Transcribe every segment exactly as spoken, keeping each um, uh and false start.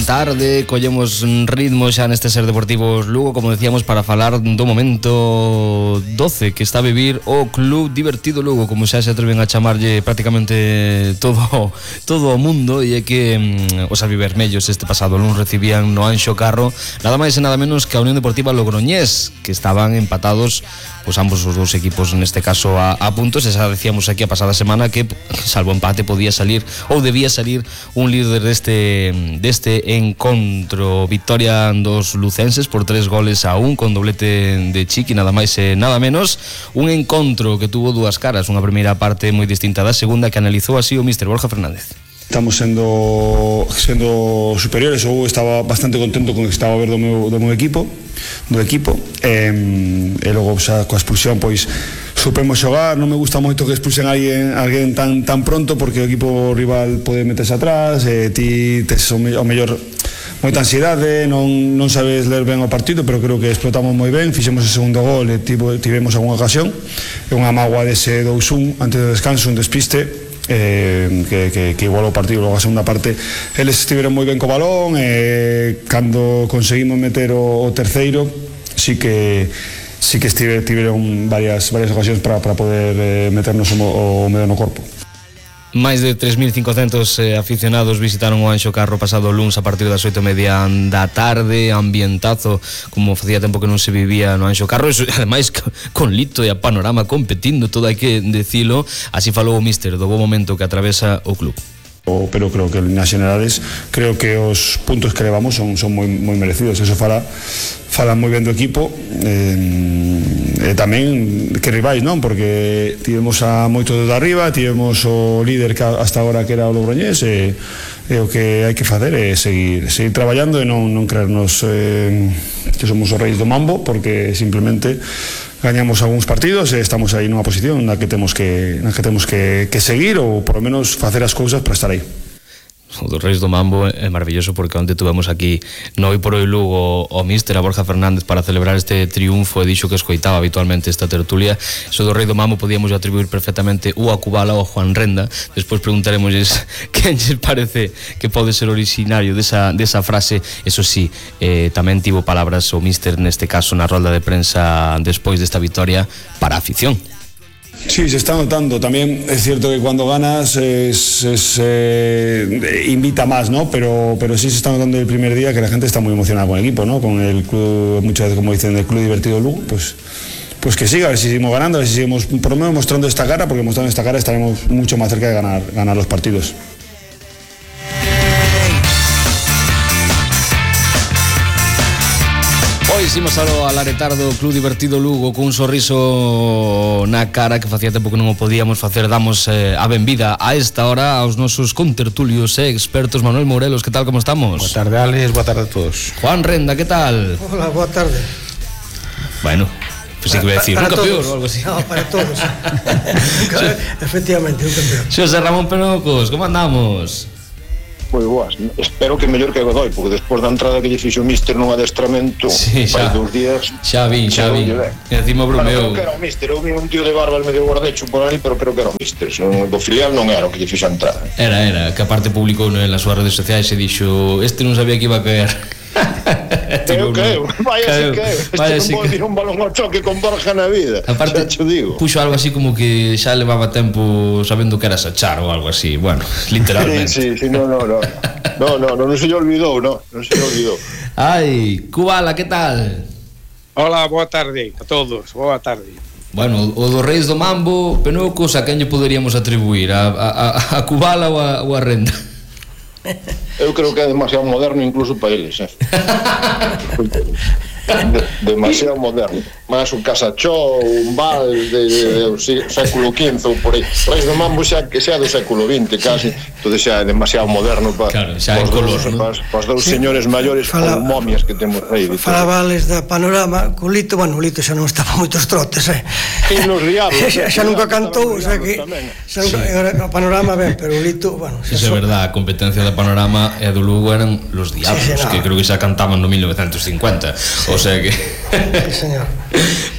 tarde, collemos ritmo xa neste Ser Deportivos Lugo, como decíamos, para falar do momento doce que está a vivir o Club Divertido Lugo, como xa se atreven a chamarlle prácticamente todo todo o mundo, e é que mm, os albivermellos este pasado luns recibían no Anxo Carro nada máis e nada menos que a Unión Deportiva Logroñés, que estaban empatados pois ambos os dous equipos neste caso a, a puntos, e xa decíamos aquí a pasada semana que salvo empate podía salir ou debía salir un líder deste deste encontro. Victoria dos lucenses por tres goles a un con doblete de Chiqui, nada máis e nada menos, un encontro que tuvo dúas caras, unha primeira parte moi distinta da segunda, que analizou así o míster Borja Fernández. Estamos sendo sendo superiores. Eu estaba bastante contento con o que estaba a ver do meu, do meu equipo do equipo e, e logo xa coa expulsión pois supemos xogar. Non me gusta moito que expulsen a alguén, a alguén tan, tan pronto, porque o equipo rival pode meterse atrás e ti tes o, me, o mellor moita ansiedade, non, non sabes ler ben o partido, pero creo que explotamos moi ben, fixemos o segundo gol e tivemos algunha ocasión, e unha mágoa dese dous un antes do descanso, un despiste Eh, que, que, que igualou o partido. Logo a segunda parte eles estiveron moi ben co balón, e cando conseguimos meter o, o terceiro sí que sí que estive, tiveron varias, varias ocasións para, para poder eh, meternos o, o medio no corpo. Máis de tres mil cincocentos eh, aficionados visitaron o Anxo Carro pasado luns a partir das oito e media da tarde, ambientazo como facía tempo que non se vivía no Anxo Carro, e ademais con Lito e a Panorama competindo, todo hai que decilo. Así falou o míster do bo momento que atravesa o club. Pero creo que en nas generales creo que os puntos que levamos son, son moi, moi merecidos. Eso fala fala moi ben do equipo, eh, e tamén que rivais, non? Porque tivemos a moito de arriba, tivemos o líder que hasta agora que era o Logroñés, e, e o que hai que facer é seguir, seguir traballando e non, non creernos eh, que somos os reis do mambo, porque simplemente gañamos algúns partidos e estamos aí nunha posición na que temos que na que temos que, que seguir, ou por lo menos facer as cousas para estar aí. O dos Reis do Mambo é maravilloso, porque onde tuvemos aquí no Hoy por Hoy Lugo o míster a Borja Fernández para celebrar este triunfo, e dixo que escoitaba habitualmente esta tertulia. Eso do Rei do Mambo podíamos atribuir perfectamente ou a Kubala ou a Juan Renda. Despois preguntaremosles quen lles parece que pode ser originario desa, desa frase. Eso sí, eh, tamén tivo palabras o míster neste caso na rolda de prensa despois desta victoria para a afición. Sí, se está notando. También es cierto que cuando ganas es, es, eh, invita más, ¿no? Pero, pero sí se está notando el primer día que la gente está muy emocionada con el equipo, ¿no? Con el club, muchas veces como dicen, el Club Divertido Lugo, pues, pues que siga, a ver si seguimos ganando, a ver si seguimos por lo menos mostrando esta cara, porque mostrando esta cara estaremos mucho más cerca de ganar, ganar los partidos. Pois imos ao alaretar do Club Divertido Lugo cun sorriso na cara, que facía tempo que non o podíamos facer. Damos eh, a benvida a esta hora aos nosos contertulios e eh, expertos. Manuel Morelos, que tal, como estamos? Boa tarde, Alex, boa tarde a todos. Juan Renda, que tal? Hola, boa tarde. Bueno, pues sí que voy a decir, un campeón ou algo así. No, para todos. Efectivamente, un campeón. Xosé Ramón Penocos, como andamos? Moi boas, espero que mellor que Godoy, porque despois da entrada que lle fixo o míster nun adestramento sí, fai dous días xa vi, xa vi, e encima bromeo. Bueno, creo que era o míster, eu vi un tío de barba al medio guardecho por aí, pero creo que era o míster, son, do filial non era o que lle fixo a entrada. Era, era, que aparte publicou nas súas redes sociais e dixo, este non sabía que iba a caer. Eu creo, vaya si que este non pode ir un balón ao choque con Borja na vida. Aparte, puxo algo así como que xa levaba tempo sabendo que era Sachar ou algo así. Bueno, literalmente. Sí, sí, sí, no, no, no. No, no, no, non se lle olvidou, no, non se lle olvidou. Ai, Kubala, que tal? Hola, boa tarde a todos, boa tarde. Bueno, o dos Reis do Mambo, Penocos, a quen lle poderíamos atribuir? A, a, a Kubala ou a, ou a Renda? Eu creo que é demasiado moderno incluso para eles, eh? De, demasiado moderno. Más un Casachó, un Val de, de, de, de século quince ou por aí. Reis do Mambo xa que xa do século vinte casi, todo xa é demasiado moderno para claro, xa en color, dos, ¿no? Para os dous sí. señores maiores Fala, con momias que temos aí. Falabales da Panorama, co Lito, bueno, o Lito xa non estaba moitos trotes, eh? E nos Diablos. xa, xa nunca cantou, o sea que xa nunca, sí. O Panorama ben, pero o Lito, bueno, eso é verdad, a competencia da Panorama e do Lugo eran los Diablos, sí, sí, no. Que creo que xa cantaban no mil novecientos cincuenta. O O sea que... Señor.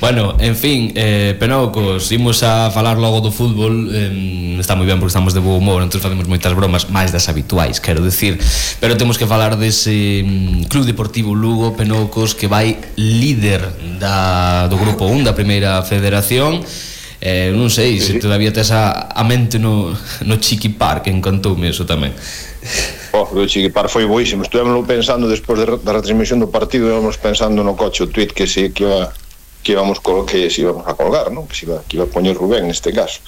Bueno, en fin, eh, Penocos, imos a falar logo do fútbol. eh, Está moi ben porque estamos de bo humor, entón facemos moitas bromas, máis das habituais, quero decir. Pero temos que falar dese um, Club Deportivo Lugo, Penocos, que vai líder da, do Grupo un da Primeira Federación. eh, Non sei se todavía tes a, a mente no, no Chiqui Park, encantoume eso tamén. Oh, o Chiqui Park foi boísimo. Estuvemos pensando despois de, da retransmisión do partido, íbamos pensando no coche, o tweet que se que iba que íbamos col que se íbamos a colgar, ¿no? Que se iba, que iba a poñer Rubén neste caso.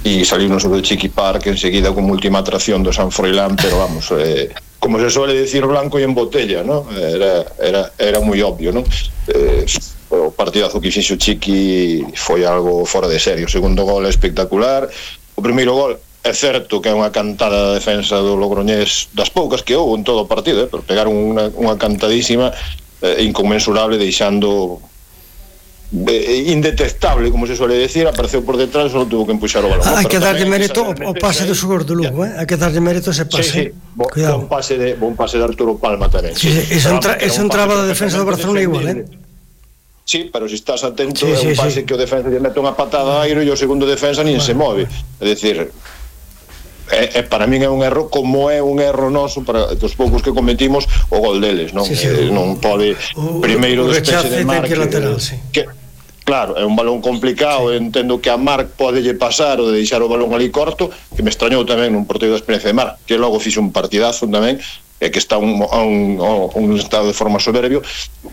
E mm. salimos sobre o Chiqui Park enseguida como última atracción do San Froilán, pero vamos, eh, como se suele decir, blanco e en botella, ¿no? Era era era moi obvio, ¿no? Eh, o partidazo que fixo Chiqui foi algo fora de serio. O segundo gol é espectacular. O primeiro gol é certo que é unha cantada de defensa do Logroñés, das poucas que houve en todo o partido, eh, pero pegaron unha, unha cantadísima eh, inconmensurable, deixando eh, indetectable, como se suele decir. Apareceu por detrás, só tuvo que empuxar o balón. Hai que darlle mérito ao pase do xogador do Lugo, eh? Hai que darlle mérito ese pase. Sí, sí, bo, bon pase de bon pase de Arturo Palma tamén. Sí, sí, eso entra, eso entraba da defensa do Barcelona igual, eh? Sí, pero se si estás atento, sí, é un sí, pase sí. que o defensa lle mete unha patada a aire e o segundo defensa nin bueno. se move. É dicir, é, é, para min é un erro, como é un erro noso para dos poucos que cometimos o gol deles, non? Sí, sí, eh, non pode o, primeiro o despexe de Marc, lateral, sí. que claro, é un balón complicado, sí. Entendo que a Marc podelle pasar ou de deixar o balón ali corto, que me extrañou tamén nun porteiro da experiencia de Marc, que logo fixo un partidazo tamén, é que está un, a un, a un estado de forma soberbio,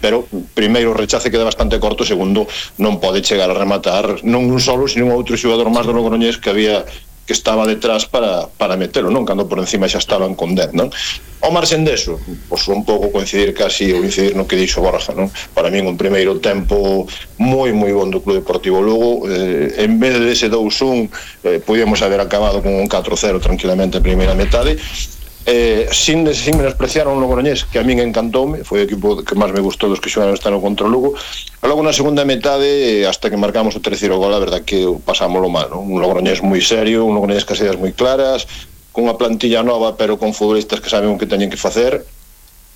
pero primeiro o rechace queda bastante corto, segundo non pode chegar a rematar non un solo, sino un outro xogador máis do Logroñés que había que estaba detrás para, para metelo, non? Cando por encima xa estaban con dez, non? Ao marxen deso, pois un pouco coincidir casi ou incidir no que dixo Borja, non? Para min un primeiro tempo moi moi bon do Club Deportivo Lugo, eh, en vez de ese dous un eh, podíamos haber acabado con un catro cero tranquilamente a primeira metade. Eh, sin, sin menospreciar un Logroñés que a min encantoume, foi o equipo que máis me gustou dos que xogaron este ano contra o Lugo. E logo na segunda metade, hasta que marcamos o terceiro gol, a verdad que pasámoslo mal, non? Un Logroñés moi serio, un Logroñés cas ideas moi claras, con unha plantilla nova pero con futbolistas que saben o que teñen que facer.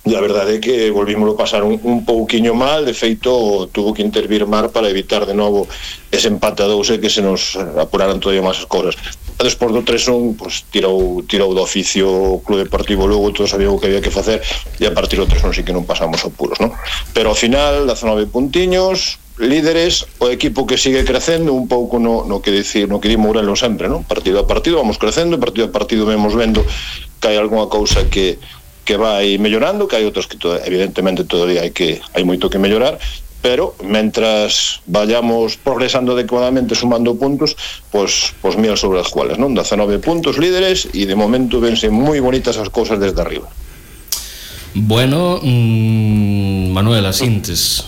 E a verdade é que volvímoslo pasar un, un pouquiño mal. De feito, tuvo que intervir Mar para evitar de novo ese empate a dous e que se nos apuraran todavía máis as cosas. E despois do tres un, pues, tirou, tirou do oficio o Club Deportivo Lugo, todos sabíamos o que había que facer, e a partir do tres un sí que non pasamos apuros, non? Pero ao final, dezanove puntiños, líderes, o equipo que sigue crecendo un pouco no, no que dicir, no que di Mourelo sempre, non? Partido a partido vamos crecendo, partido a partido vemos vendo que hai algunha cousa que que vai mellorando, que hai outros que to, evidentemente todavía hai que hai moito que mellorar, pero mentras vayamos progresando adecuadamente sumando puntos, pois pues, pues mil sobre as cuales, non? dezanove puntos líderes e de momento vense moi bonitas as cousas desde arriba. Bueno, mmm, Manuel, asintes.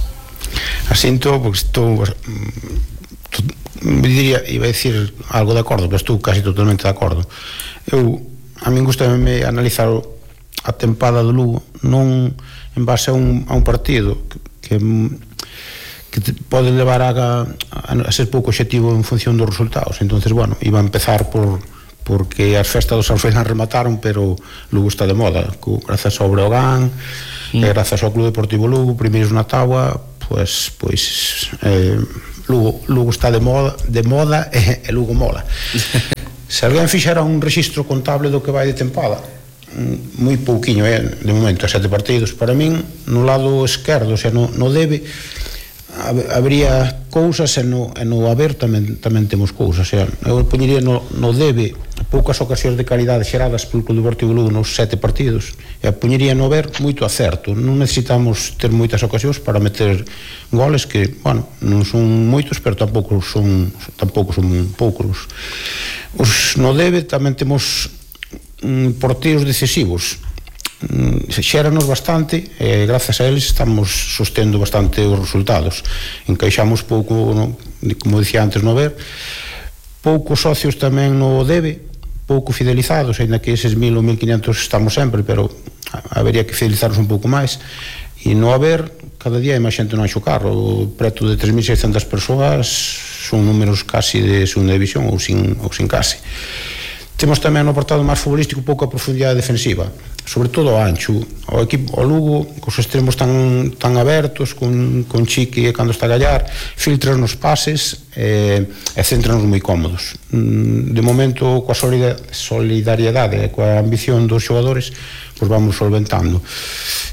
Asinto porque estou me diría, iba a decir algo de acordo, pero estou casi totalmente de acordo. Eu, a min gustame analizar o a tempada do Lugo non en base a un, a un partido que, que, que te pode levar a, a, a ser pouco objetivo en función dos resultados. Entonces, bueno, iba a empezar por porque as festas do San Froilán remataron, pero Lugo está de moda, co, grazas ao Breogán, mm. e grazas ao Club Deportivo Lugo, primeiros na táboa, pues, pues eh, Lugo, Lugo está de moda, de moda e, e Lugo mola. Se alguén fixera un rexistro contable do que vai de tempada, moi pouquiño, eh, de momento, a sete partidos. Para min, no lado esquerdo, o sea, no, no debe, habría cousas, e no, e no haber tamén, tamén temos cousas. O sea, eu poñería no, no debe poucas ocasións de calidade xeradas pelo Club Deportivo Lugo nos sete partidos, e poñería no haber moito acerto. Non necesitamos ter moitas ocasións para meter goles que, bueno, non son moitos, pero tampouco son tampouco son poucos. Os no debe tamén temos porteos decisivos, xéranos bastante e grazas a eles estamos sostendo bastante os resultados. Encaixamos pouco, no, como dicía antes, no ver, poucos socios tamén no debe, pouco fidelizados, ainda que eses mil ou mil quinhentos estamos sempre, pero habería que fidelizarnos un pouco máis. E no haber, cada día hai máis xente no anxo carro, preto de tres mil seiscentas persoas, son números casi de segunda división ou sin, ou sin case. temos tamén no apartado máis futbolístico pouca profundidade defensiva, sobre todo o ancho. O equipo, o Lugo, cos extremos tan, tan abertos, con, con Chiqui cando está a gallar, filtran nos pases e, e centranos moi cómodos. De momento, coa solidariedade e coa ambición dos xogadores, pois vamos solventando.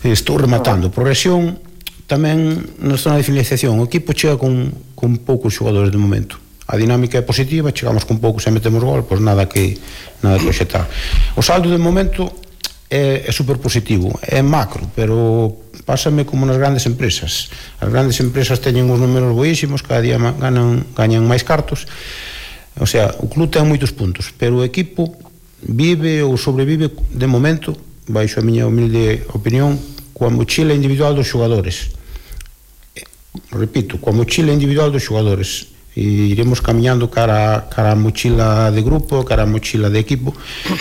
Estou rematando. Progresión tamén na zona de finalización. O equipo chega con, con poucos xogadores de momento. A dinámica é positiva, chegamos con poucos e metemos gol, pois nada que nada que oxetar. O saldo de momento é, é super positivo, é macro, pero pásame como nas grandes empresas. As grandes empresas teñen uns números boísimos, cada día ganan, gañan máis cartos. O sea, o club ten moitos puntos, pero o equipo vive ou sobrevive de momento, baixo a miña humilde opinión, coa mochila individual dos xogadores. Repito, coa mochila individual dos xogadores. E iremos camiñando cara, cara a mochila de grupo, cara a mochila de equipo,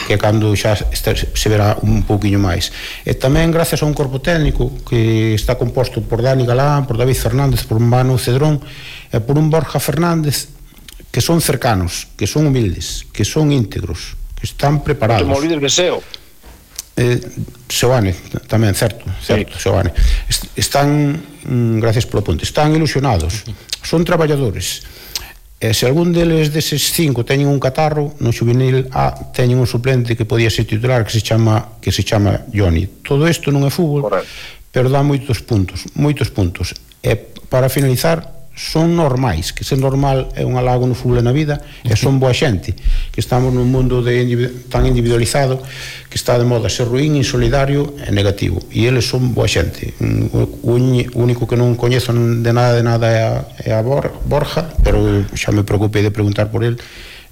que cando xa este, se verá un pouquiño máis. E tamén gracias a un corpo técnico que está composto por Dani Galán, por David Fernández, por Manu Cedrón e por un Borja Fernández, que son cercanos, que son humildes, que son íntegros, que están preparados. Non te me olvides de Seo. Eh, Seoane, tamén, certo, certo, sí. Seoane. Están, mm, gracias polo ponte, están ilusionados, son traballadores. E se algún deles deses cinco teñen un catarro, no xuvenil A teñen un suplente que podía ser titular que se chama que se chama Johnny. Todo isto non é fútbol, correcto, pero dá moitos puntos, moitos puntos. E para finalizar, son normais, que ser normal é un halago no fútbol e na vida, e son boa xente, que estamos nun mundo de individu tan individualizado que está de moda ser ruín, insolidario e negativo, e eles son boa xente. O único que non coñezo de nada de nada é a, é a Borja, pero xa me preocupei de preguntar por el,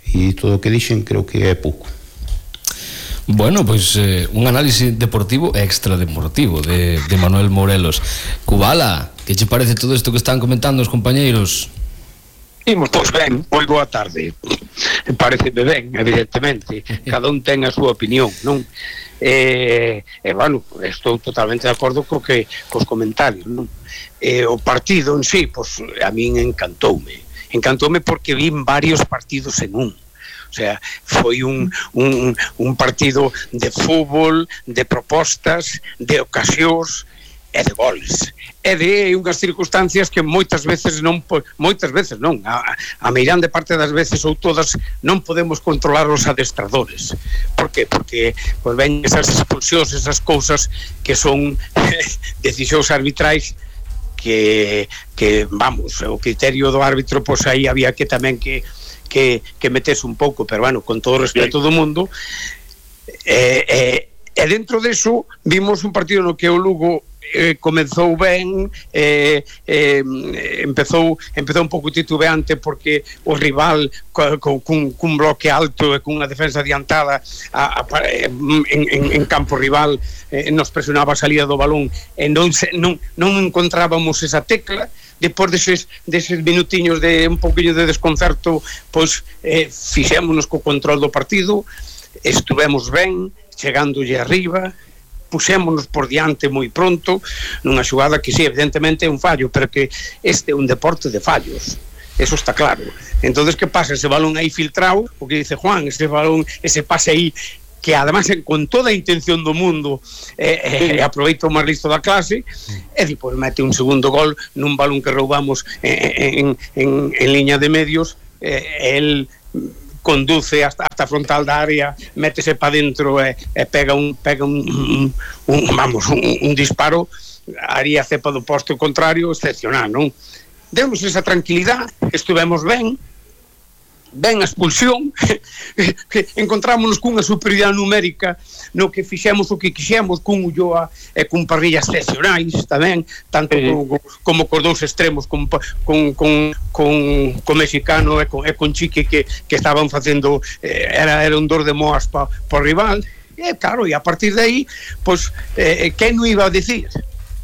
e todo o que dixen creo que é pouco. Bueno, pois pues, eh, un análisis deportivo e extradeportivo de, de Manuel Morelos. Cubala, que che parece todo isto que están comentando os compañeiros? Imos, pois ben, moi boa tarde. Pareceme ben, evidentemente. Cada un ten a súa opinión, non? E, e bueno, estou totalmente de acordo co que, cos comentarios, non? E, o partido en sí, pois, a min encantoume. Encantoume porque vin varios partidos en un. O sea, foi un, un, un partido de fútbol, de propostas, de ocasións e de goles. E de unhas circunstancias que moitas veces non, moitas veces non, a, a meirande parte das veces ou todas non podemos controlar os adestradores. Por que? Porque pues, ven esas expulsións, esas cousas que son decisións arbitrais que, que, vamos, o criterio do árbitro, pois pues, aí había que tamén que que, que metes un pouco, pero bueno, con todo o respeto do mundo, e, e, e dentro deso vimos un partido no que o Lugo eh, comezou ben, eh, eh, empezou empezou un pouco titubeante porque o rival co, co, cun, cun bloque alto e cunha defensa adiantada a, a, en, en, en campo rival eh, nos presionaba a salida do balón e non, se, non, non encontrábamos esa tecla. Depois deses, deses minutiños de un pouquinho de desconcerto, pois eh, fixémonos co control do partido, estuvemos ben, chegándolle arriba, puxémonos por diante moi pronto, nunha xogada que sí, evidentemente é un fallo, pero que este é un deporte de fallos, eso está claro. Entonces, que pasa? Ese balón aí filtrado, o que dice Juan, ese balón, ese pase aí, que además con toda a intención do mundo eh, eh, aproveita o máis listo da clase e depois mete un segundo gol nun balón que roubamos en, en, en liña de medios, eh, el conduce hasta, hasta frontal da área, métese para dentro e, e pega un pega un, un, un vamos, un, un disparo, haría cepa do posto contrario excepcional, non? Demos esa tranquilidade, estuvemos ben, ben a expulsión, encontrámonos cunha superioridade numérica no que fixemos o que quixemos, cun Ulloa e cun Parrilla excepcionais tamén, tanto sí, como, como cos dous extremos con, con, con, con, con mexicano e con, e con Chique que, que estaban facendo eh, era, era un dor de moas pa, pa rival, e claro, e a partir de aí pois, eh, que non iba a decir?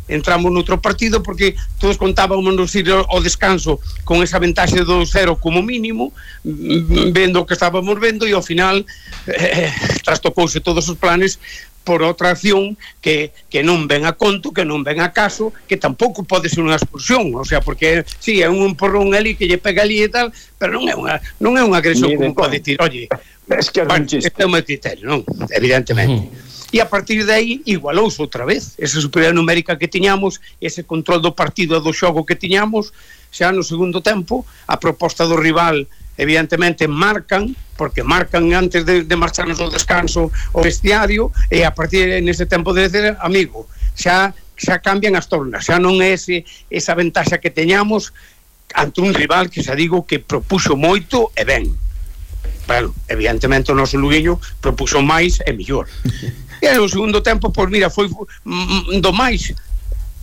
Entramos noutro partido porque todos contábamos ir ao descanso con esa ventaxe do cero como mínimo, vendo o que estábamos vendo, e ao final eh, trastocouse todos os planes por outra acción que, que non ven a conto, que non ven a caso, que tampouco pode ser unha expulsión, o sea, porque si sí, é un porrón ali que lle pega ali e tal, pero non é unha non é unha agresión como pode decir, oye, Es que é bueno, un chiste. este é o meu criterio, non? Evidentemente. Uh-huh. E a partir de aí igualouse outra vez esa superioridade numérica que tiñamos, ese control do partido e do xogo que tiñamos. Xa no segundo tempo a proposta do rival evidentemente marcan, porque marcan antes de, de marcharnos ao descanso o vestiario, e a partir de nese tempo de dizer, amigo, xa, xa cambian as tornas, xa non é ese, esa ventaxa que teñamos ante un rival que xa digo que propuxo moito e ben. Bueno, evidentemente o noso Lugueño propuxo máis e mellor. E no segundo tempo, pois mira, foi do máis,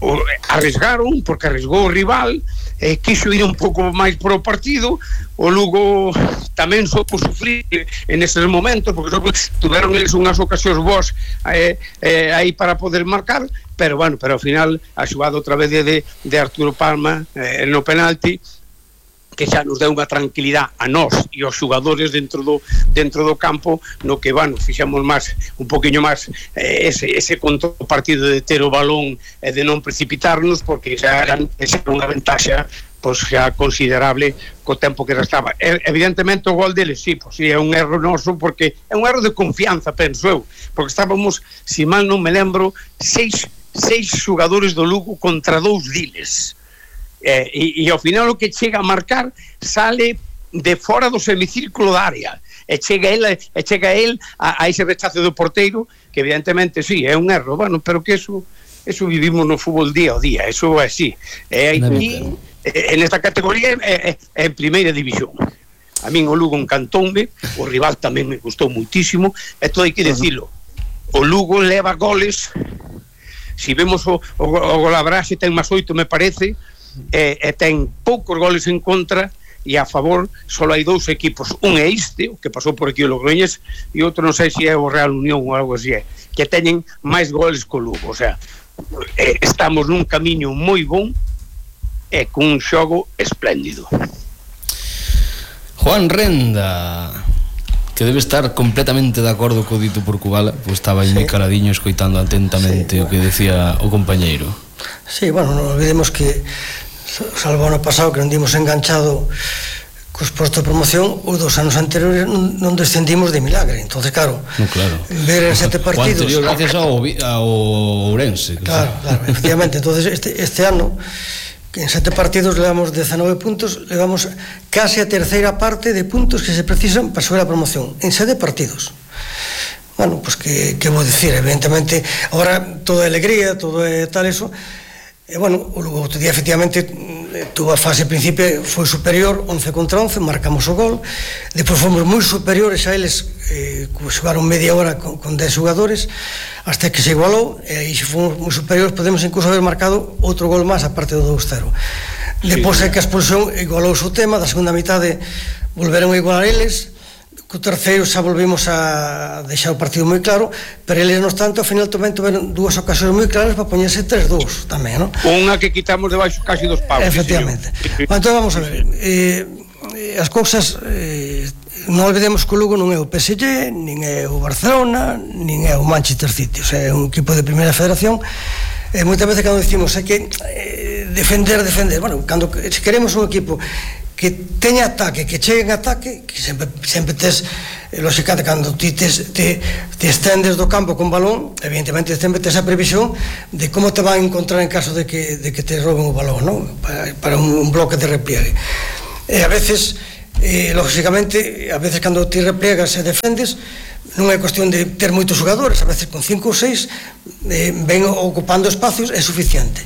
o, arriesgaron, porque arriesgou o rival, eh, quixo ir un pouco máis por o partido, o Lugo tamén soupo sufrir en eses momentos, porque tuveron eles unhas ocasións boas eh, eh, aí para poder marcar, pero bueno, pero ao final a xugada outra vez de, de Arturo Palma eh, no penalti, que xa nos deu unha tranquilidade a nós e aos xogadores dentro do dentro do campo, no que, bueno, fixamos máis, un poquinho máis eh, ese, ese control partido de ter o balón e de non precipitarnos, porque xa era, xa era unha ventaxa pois xa considerable co tempo que restaba. E, evidentemente o gol deles, sí, pois sí, é un erro noso, porque é un erro de confianza, penso eu, porque estábamos, si mal non me lembro, seis, seis xogadores do Lugo contra dous diles. Eh, e, e ao final o que chega a marcar sale de fora do semicírculo da área e chega el, e chega el a, a ese rechazo do porteiro, que evidentemente sí, é un erro, bueno, pero que eso eso vivimos no fútbol día a día, eso é así, é aquí en esta categoría é, é, é en primeira división. A min o Lugo encantoume, o rival tamén me gustou muitísimo, e todo hai que decirlo, o Lugo leva goles, si vemos o, o, o golabraxe ten máis oito, me parece, e, e ten poucos goles en contra, e a favor só hai dous equipos, un é este, o que pasou por aquí o Logroñés, e outro non sei se é o Real Unión ou algo así, é, que teñen máis goles co Lugo. O sea, eh, estamos nun camiño moi bon e con un xogo espléndido. Juan Renda, que debe estar completamente de acordo co dito por Kubala, pois estaba aí sí. moi caladiño escoitando atentamente sí, o que decía o compañeiro. Sí, bueno, non olvidemos que salvo ano pasado que non dimos enganchado cos postos de promoción, os dos anos anteriores non, non descendimos de milagre. Entonces, claro, no, claro. ver en sete partidos... O anterior gracias ao, ao Ourense. Claro, claro, efectivamente. Entonces, este, este ano, que en sete partidos levamos dezanove puntos, levamos case a terceira parte de puntos que se precisan para subir a promoción. En sete partidos. Bueno, pues que, que vou dicir, evidentemente, ahora todo é alegría, todo é tal eso, e bueno, o Lugo outro día efectivamente tuvo a fase principio, foi superior once contra once, marcamos o gol, depois fomos moi superiores a eles, eh, xogaron media hora con, con dez xogadores, hasta que se igualou, e aí se fomos moi superiores, podemos incluso haber marcado outro gol máis aparte do dous cero. Depois é que a expulsión igualouse o tema, da segunda mitade volveron a igualar eles, co terceiro xa volvimos a deixar o partido moi claro, pero eles, no obstante, ao final tamén tuveron dúas ocasións moi claras para poñerse tres dous tamén, non? Unha que quitamos debaixo casi dos paus. Efectivamente. Sí, bueno, entón vamos a ver, eh, as cousas, eh, non olvidemos que o Lugo non é o P S G, nin é o Barcelona, nin é o Manchester City, o sea, é un equipo de primeira federación. E moitas veces cando decimos é que eh, defender, defender, bueno, cando se queremos un equipo que teña ataque, que chegue en ataque, que sempre, sempre tes, lóxicamente, cando ti tes, te, te estendes do campo con balón, evidentemente sempre tes a previsión de como te van a encontrar en caso de que, de que te roben o balón, non? Para, para un, un bloque de repliegue. E a veces, eh, lóxicamente, a veces cando ti repliegas e defendes, non é cuestión de ter moitos xogadores, a veces con cinco ou seis eh, ven ocupando espacios, é suficiente.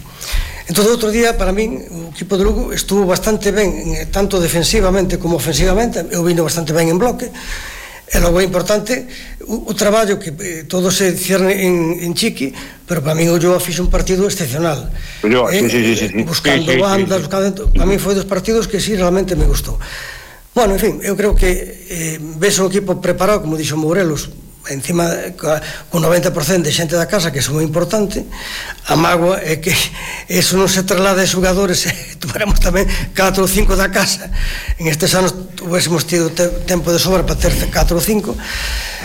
Entón, outro día, para min, o equipo de Lugo estuvo bastante ben, tanto defensivamente como ofensivamente, eu vino bastante ben en bloque, e logo é importante o, o traballo que eh, todo se cierne en, en Chiqui, pero para min o Ulloa fixe un partido excepcional. Ulloa, eh, sí, sí, sí, sí. Buscando sí, sí, bandas, sí, sí. buscando... Para min foi dos partidos que sí, realmente me gustou. Bueno, en fin, eu creo que eh, ves un equipo preparado, como dixo Morelos, encima con noventa por cento de xente da casa, que é moi importante. A mágoa é que eso non se traslada a xogadores, tuveramos tamén catro ou cinco da casa, en estes anos tuvéssemos tido te tempo de sobra para ter catro ou cinco,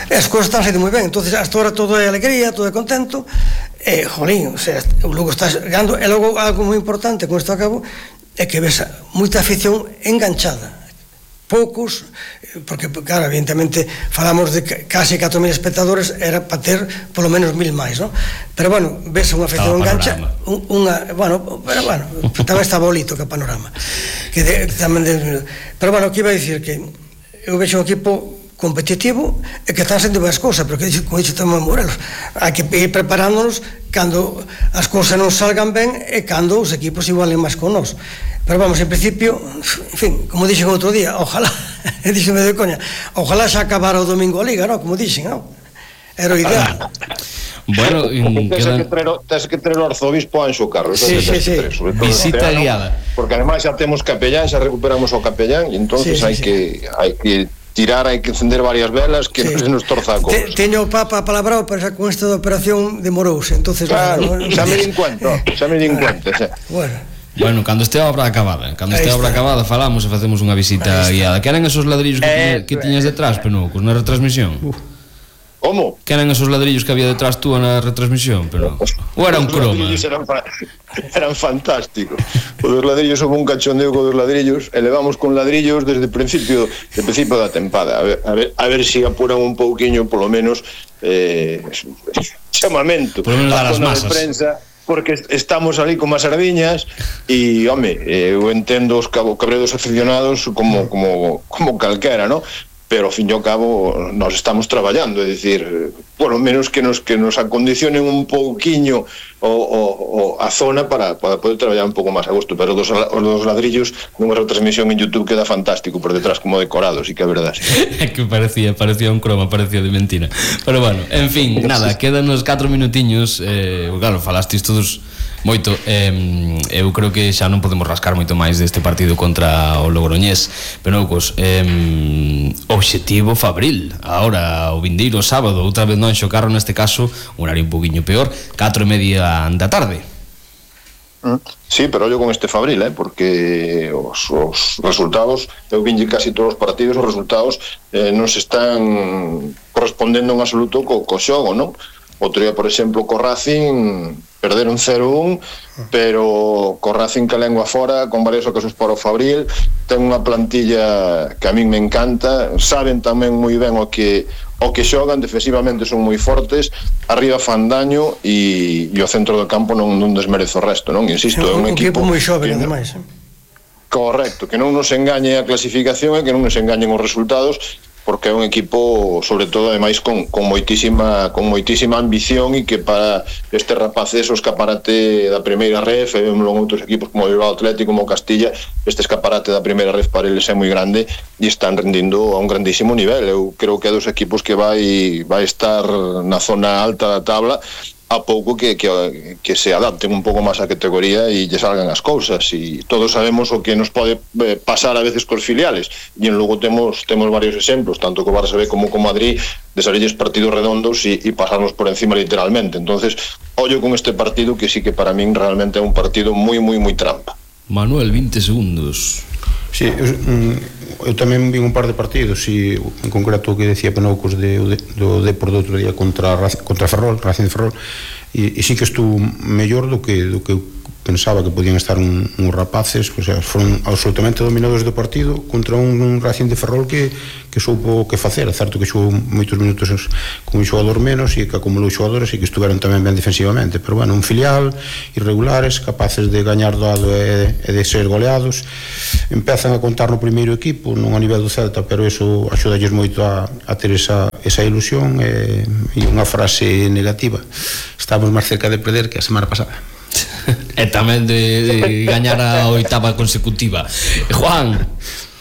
e as cousas están sendo moi ben. Entonces hasta ahora todo é alegría, todo é contento, e jolín, o sea, o Lugo está ganando. E logo algo moi importante, con isto acabo, é que ves moita afición enganchada. poucos, porque, claro, evidentemente falamos de case catro mil espectadores, era para ter polo menos mil máis, non? Pero, bueno, ves unha afección engancha, unha, bueno, pero, bueno, tamén está bolito que panorama. Que de, tamén de, pero, bueno, que iba a dicir que eu vexo un equipo competitivo e que están sendo boas cousas, pero que como dixo tamén Morelos, hai que ir preparándonos cando as cousas non salgan ben e cando os equipos igualen máis con nós. Pero vamos, en principio, en fin, como dixen outro día, ojalá, díxeme de coña, ojalá xa acabara o domingo a Liga, non? Como dixen, non? Era o ideal. Bueno, tens que traer tens que traer o arzobispo Anxo Carlos. Sí, sí, sí. Visita guiada. Porque ademais xa temos capellán, xa recuperamos o capellán e entonces hai que hai que tirar, hai que encender varias velas que non se nos torza a cousa. Teño o Papa palabrado, pero xa con esta de operación demorouse, entonces claro, xa me din cuenta, xa me din cuenta, xa. Bueno. Bueno, cando este a obra acabada, cando este a obra acabada falamos e facemos unha visita guiada. Que eran esos ladrillos que, eh, que tiñas detrás, Penucos, na retransmisión? Uh. Como? Que eran esos ladrillos que había detrás tú na retransmisión, pero ou era un croma? Os ladrillos eran, fa eran fantásticos. O dos ladrillos houve un cachondeo co dos ladrillos e levamos con ladrillos desde o principio, desde o principio da tempada. A ver, a ver, a ver se si apuran un pouquiño, polo menos, eh, chamamento. Por lo menos dar as masas. Prensa, porque estamos ali como as sardiñas e, home, eu entendo os cabredos aficionados como, como, como calquera, ¿no? Pero ao fin e ao cabo nós estamos traballando, é dicir, por lo menos que nos que nos acondicionen un pouquiño o, o, o a zona para, para poder traballar un pouco máis a gusto, pero dos, os dos ladrillos nunha retransmisión en YouTube queda fantástico por detrás como decorados, e que é verdade. É que parecía, parecía un croma, parecía de mentira. Pero bueno, en fin, nada, quedan uns catro minutiños, eh, claro, falastis todos moito, eh, eu creo que xa non podemos rascar moito máis deste partido contra o Logroñés. Penoucos, eh, obxectivo Fabril, agora o vindeiro sábado, outra vez non Xocarro, neste caso un horario un poquinho peor, catro e media da tarde. Sí, pero ollo con este Fabril, eh, porque os, os resultados, eu vinlle casi todos os partidos, os resultados eh, non se están correspondendo en absoluto co, co xogo, non? Outro día, por exemplo, co Racing perderon cero un, pero co Racing que lengua fora, con varias ocasións para o Fabril, ten unha plantilla que a min me encanta, saben tamén moi ben o que o que xogan, defensivamente son moi fortes, arriba fan daño e, e o centro do campo non, non desmerece o resto, non? Insisto, é un, un equipo, equipo moi xoven, que, ademais, eh? Correcto, que non nos engañe a clasificación e que non nos engañen os resultados, porque é un equipo, sobre todo, ademais con, con moitísima con moitísima ambición e que para este rapaces o escaparate da primeira ref, e vemos outros equipos como o Bilbao Atlético, como o Castilla, este escaparate da primeira ref para eles é moi grande e están rendindo a un grandísimo nivel. Eu creo que é dos equipos que vai vai estar na zona alta da tabla a pouco que, que, que se adapten un pouco máis á categoría e lle salgan as cousas, e todos sabemos o que nos pode pasar a veces cos filiales, e en Lugo temos temos varios exemplos, tanto co Barça B como co Madrid, de salirles partidos redondos e, e pasarnos por encima literalmente. Entonces, ollo con este partido, que sí que para min realmente é un partido moi, moi, moi trampa. Manuel, vinte segundos. Sí, eu, eu tamén vi un par de partidos, e en concreto o que decía Penoucos de, de, do Depor do outro día contra, contra Ferrol, Racing de Ferrol, e, e sí que estuvo mellor do que, do que eu pensaba que podían estar un, uns rapaces, o sea, foron absolutamente dominadores do partido contra un, un Racing de Ferrol que, que soupo que facer. É certo que xogou moitos minutos con un xogador menos e que acumulou xogadores e que estuveron tamén ben defensivamente, pero bueno, un filial, irregulares, capaces de gañar doado e, e de ser goleados. Empezan a contar no primeiro equipo, non a nivel do Celta, pero eso axudalles moito a, a ter esa, esa ilusión e, e unha frase negativa: estamos máis cerca de perder que a semana pasada. E tamén de, de gañar a oitava consecutiva. Juan.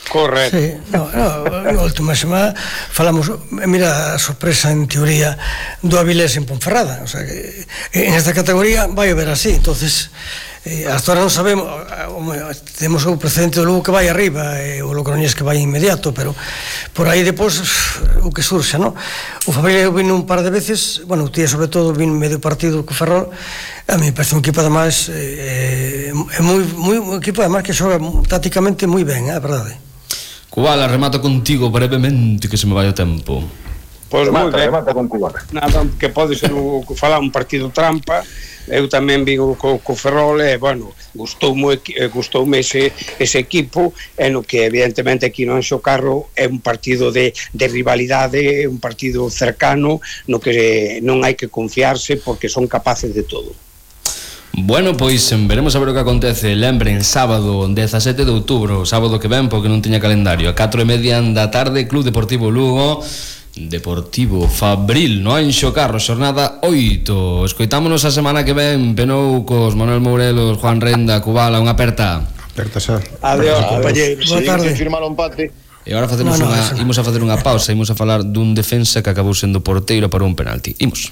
Correcto. Sí, no, no, a última semana falamos, mira, a sorpresa en teoría do Avilés en Ponferrada, o sea, que en esta categoría vai a ver así, entonces eh, hasta ahora non sabemos, temos o precedente do Lugo que vai arriba e o Logroñés que vai inmediato, pero por aí depois o que surxa, non? O Fabril vino un par de veces, bueno, o tía sobre todo vino medio partido co Ferrol, a mí parece un equipo además é eh, moi, moi, un equipo además que xoga tácticamente moi ben, é verdade. Cubala, remato contigo brevemente que se me vai o tempo. Pois moi ben. Remata con cubana. Nada, que pode ser o, falar un partido trampa. Eu tamén vi co, co Ferrol e, bueno, gustoume, gustoume ese, ese equipo, e no que evidentemente aquí no Anxo Carro é un partido de, de rivalidade, un partido cercano, no que non hai que confiarse porque son capaces de todo. Bueno, pois veremos a ver o que acontece. Lembren, sábado dezasete de outubro, sábado que ven porque non tiña calendario, a catro e media da tarde, Club Deportivo Lugo Deportivo Fabril no Anxo Carro, xornada oito. Escoitámonos a semana que ven. Penou cos Manuel Mourelos, Juan Renda, Cubala, unha aperta. Aperta xa. Adiós, compañeros. Boa tarde. Firmar un empate. E agora facemos No, no, unha, eso. imos a facer unha pausa, imos a falar dun defensa que acabou sendo porteiro para un penalti. Imos.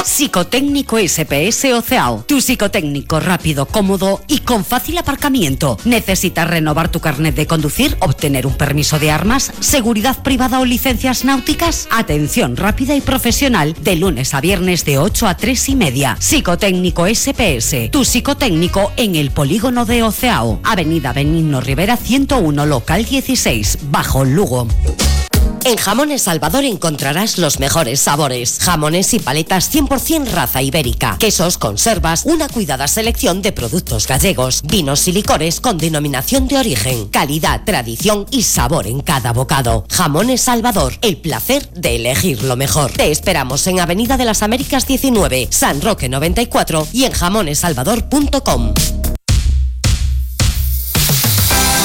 Psicotécnico S P S Oceao. Tu psicotécnico rápido, cómodo y con fácil aparcamiento. ¿Necesitas renovar tu carnet de conducir? ¿Obtener un permiso de armas? ¿Seguridad privada o licencias náuticas? Atención rápida y profesional de lunes a viernes de ocho a tres y media. Psicotécnico S P S. Tu psicotécnico en el polígono de Oceao. Avenida Benigno Rivera ciento uno, local dieciséis, Bajo Lugo. En Jamones Salvador encontrarás los mejores sabores. Jamones y paletas cien por ciento raza ibérica. Quesos, conservas, una cuidada selección de productos gallegos. Vinos y licores con denominación de origen. Calidad, tradición y sabor en cada bocado. Jamones Salvador, el placer de elegir lo mejor. Te esperamos en Avenida de las Américas diecinueve, San Roque noventa y cuatro y en jamones salvador punto com.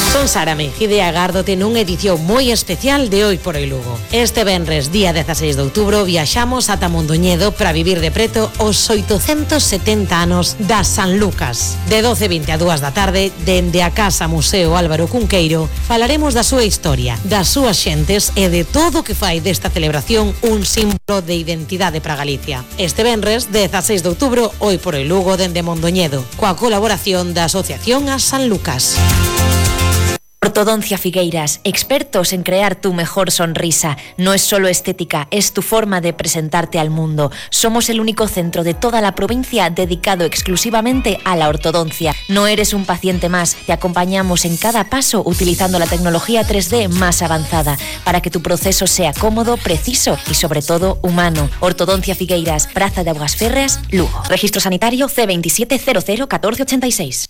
Son Sara Mejide agárdote nunha edición moi especial de Hoy por Hoy Lugo. Este venres, día dezaseis de outubro, viaxamos ata Mondoñedo para vivir de preto os oitocentos setenta anos da San Lucas. De doce e vinte a dúas da tarde, dende a Casa Museo Álvaro Cunqueiro, falaremos da súa historia, das súas xentes e de todo o que fai desta celebración un símbolo de identidade para Galicia. Este venres, dezaseis de outubro, Hoy por Hoy Lugo, dende Mondoñedo, coa colaboración da Asociación a San Lucas. Ortodoncia Figueiras, expertos en crear tu mejor sonrisa. No es solo estética, es tu forma de presentarte al mundo. Somos el único centro de toda la provincia dedicado exclusivamente a la ortodoncia. No eres un paciente más, te acompañamos en cada paso utilizando la tecnología tres D más avanzada para que tu proceso sea cómodo, preciso y sobre todo humano. Ortodoncia Figueiras, Praza de Aguas Férreas, Lugo. Registro sanitario C veintisiete cero cero catorce ochenta y seis.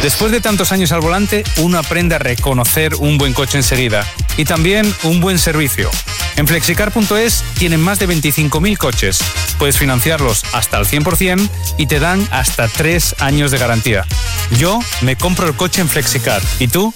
Después de tantos años al volante, uno aprende a reconocer un buen coche enseguida y también un buen servicio. En flexicar punto es tienen más de veinticinco mil coches. Puedes financiarlos hasta el cien por ciento y te dan hasta tres años de garantía. Yo me compro el coche en Flexicar. ¿Y tú?